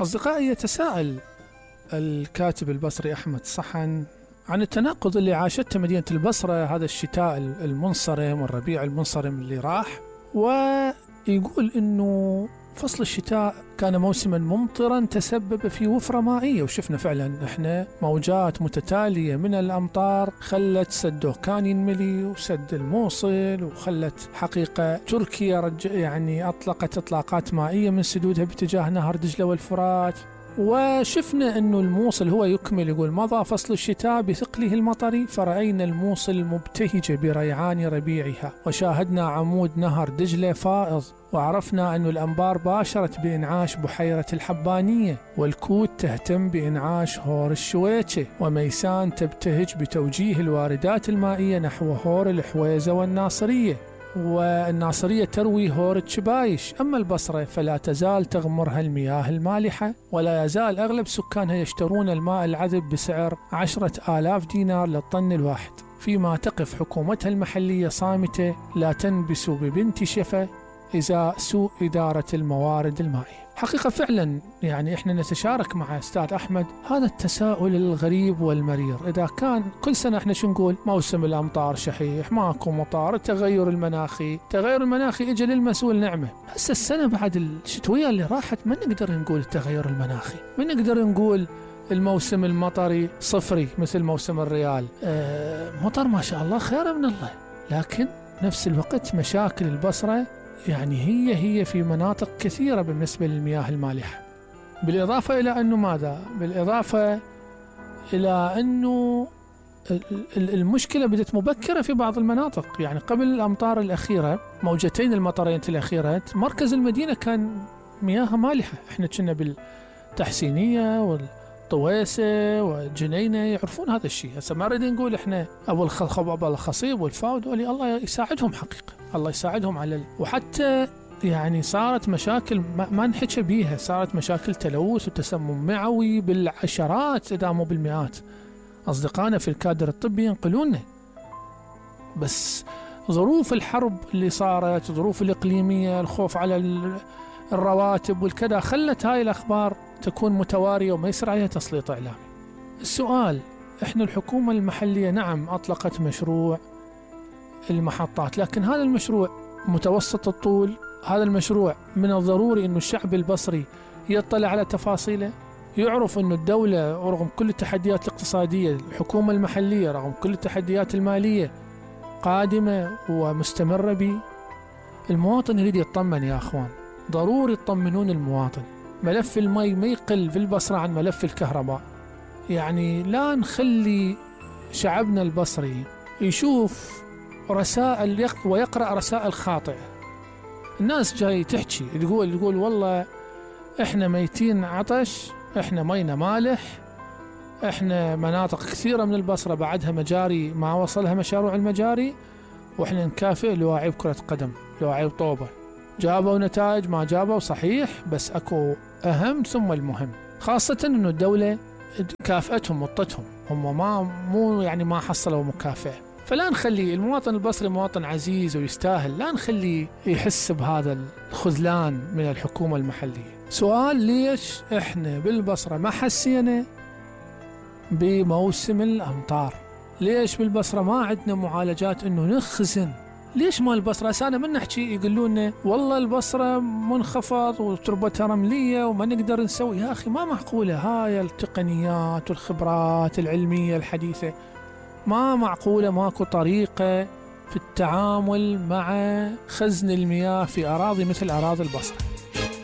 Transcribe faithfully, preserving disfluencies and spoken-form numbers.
أصدقائي، يتساءل الكاتب البصري أحمد صحن عن التناقض اللي عاشته مدينة البصرة هذا الشتاء المنصرم والربيع المنصرم اللي راح، ويقول إنه فصل الشتاء كان موسما ممطرا تسبب في وفرة مائية، وشفنا فعلا إحنا موجات متتالية من الأمطار خلت سد دوكان ينملي وسد الموصل، وخلت حقيقة تركيا رج يعني أطلقت إطلاقات مائية من سدودها باتجاه نهر دجلة والفرات. وشفنا أنه الموصل هو يكمل، يقول مضى فصل الشتاء بثقله المطري فرأينا الموصل مبتهجة بريعان ربيعها، وشاهدنا عمود نهر دجلة فائض، وعرفنا أن الأنبار باشرت بإنعاش بحيرة الحبانية، والكوت تهتم بإنعاش هور الشويتشة، وميسان تبتهج بتوجيه الواردات المائية نحو هور الحويزة والناصرية، والناصرية تروي هور الشبايش. أما البصرة فلا تزال تغمرها المياه المالحة، ولا يزال أغلب سكانها يشترون الماء العذب بسعر عشرة آلاف دينار للطن الواحد، فيما تقف حكومتها المحلية صامتة لا تنبس ببنت شفة إذا سوء إدارة الموارد المائية. حقيقة فعلا يعني إحنا نتشارك مع أستاذ أحمد هذا التساؤل الغريب والمرير. إذا كان كل سنة إحنا شو نقول؟ موسم الأمطار شحيح، ماكو مطار، التغير المناخي، التغير المناخي إجا للمسؤول نعمة. هسه السنة بعد الشتوية اللي راحت ما نقدر نقول التغير المناخي، ما نقدر نقول الموسم المطري صفري مثل موسم الريال. آه مطر ما شاء الله خير من الله، لكن نفس الوقت مشاكل البصرة يعني هي هي في مناطق كثيرة بالنسبة للمياه المالحة. بالإضافة إلى أنه ماذا؟ بالإضافة إلى أنه المشكلة بدت مبكرة في بعض المناطق. يعني قبل الأمطار الأخيرة، موجتين المطرين الأخيرة، مركز المدينة كان مياه مالحة. إحنا كنا بالتحسينية والطويسة والجنينة يعرفون هذا الشيء. هسه ما نريد نقول إحنا أبو الخلخب أبو الخصيب والفاود، ولي الله يساعدهم حقيقة، الله يساعدهم على ال... وحتى يعني صارت مشاكل ما, ما نحكي بيها، صارت مشاكل تلوث وتسمم معوي بالعشرات إذا مو بالمئات. أصدقائنا في الكادر الطبي ينقلون، بس ظروف الحرب اللي صارت، ظروف الإقليمية، الخوف على الرواتب والكذا، خلت هاي الأخبار تكون متوارية وما يصير عليها تسليط إعلامي. السؤال، إحنا الحكومة المحلية نعم أطلقت مشروع المحطات، لكن هذا المشروع متوسط الطول، هذا المشروع من الضروري أن الشعب البصري يطلع على تفاصيله، يعرف أن الدولة رغم كل التحديات الاقتصادية، الحكومة المحلية رغم كل التحديات المالية قادمة ومستمرة به. المواطن يريد يطمن يا أخوان، ضروري تطمنون المواطن. ملف المي ما يقل في البصرة عن ملف الكهرباء. يعني لا نخلي شعبنا البصري يشوف رسائل ويقرأ رسائل خاطئة. الناس جاي تحكي تقول تقول والله احنا ميتين عطش، احنا مينا مالح، احنا مناطق كثيرة من البصرة بعدها مجاري ما وصلها مشروع المجاري، واحنا نكافئ لواعيب كرة قدم، لواعيب طوبة. جابوا نتائج ما جابوا صحيح، بس اكو اهم ثم المهم، خاصة انه الدولة كافأتهم وطتهم، هم ما مو يعني ما حصلوا مكافأة. فلا نخلي المواطن البصري مواطن عزيز ويستاهل، لا نخلي يحس بهذا الخذلان من الحكومة المحلية. سؤال، ليش احنا بالبصرة ما حسينا بموسم الأمطار؟ ليش بالبصرة ما عندنا معالجات انه نخزن؟ ليش ما البصرة سانا من نحكي يقولون والله البصرة منخفض وتربتها رملية وما نقدر نسوي؟ يا أخي ما معقولة هاي التقنيات والخبرات العلمية الحديثة، ما معقولة ماكو طريقة في التعامل مع خزن المياه في أراضي مثل أراضي البصرة.